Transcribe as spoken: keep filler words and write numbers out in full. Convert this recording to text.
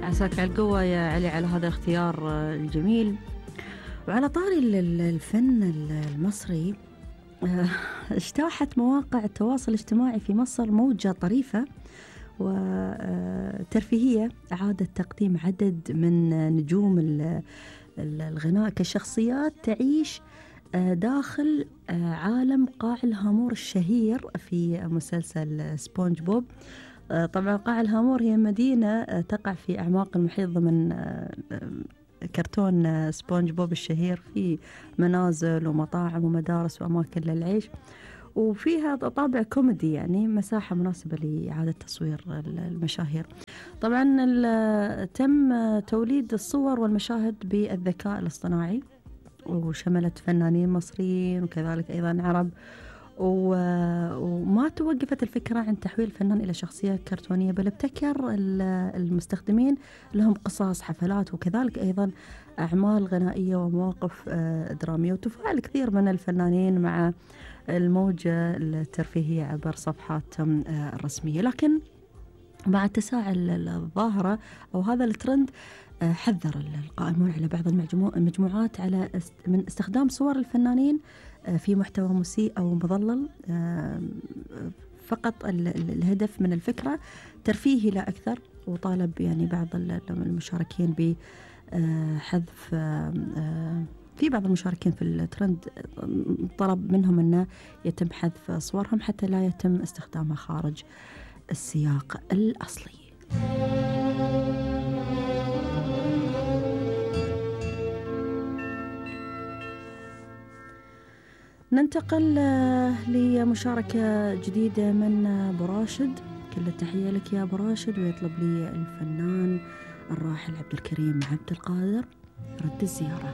عساك على القوة يا علي على هذا الاختيار الجميل. وعلى طاري الفن المصري، اجتاحت مواقع التواصل الاجتماعي في مصر موجة طريفة وترفيهية أعادت تقديم عدد من نجوم الغناء كشخصيات تعيش داخل عالم قاع الهامور الشهير في مسلسل سبونج بوب. طبعا قاع الهامور هي مدينة تقع في أعماق المحيط ضمن كرتون سبونج بوب الشهير، في منازل ومطاعم ومدارس وأماكن للعيش، وفيها طابع كوميدي، يعني مساحة مناسبة لإعادة تصوير المشاهير. طبعا تم توليد الصور والمشاهد بالذكاء الاصطناعي، وشملت فنانين مصريين وكذلك أيضا عرب، وما توقفت الفكرة عن تحويل الفنان إلى شخصية كرتونية، بل ابتكر المستخدمين لهم قصص، حفلات، وكذلك أيضا أعمال غنائية ومواقف درامية، وتفاعل كثير من الفنانين مع الموجة الترفيهية عبر صفحاتهم الرسمية. لكن مع تساعل الظاهرة أو هذا الترند، حذر القائمون على بعض المجموعات على من استخدام صور الفنانين في محتوى مسيء أو مضلل، فقط الهدف من الفكرة ترفيهي لا أكثر. وطالب يعني بعض المشاركين بحذف، في بعض المشاركين في الترند طلب منهم أنه يتم حذف صورهم حتى لا يتم استخدامها خارج السياق الأصلي. ننتقل لمشاركة جديدة من أبو راشد. كل التحية لك يا أبو راشد، ويطلب لي الفنان الراحل عبد الكريم عبد القادر رد الزيارة.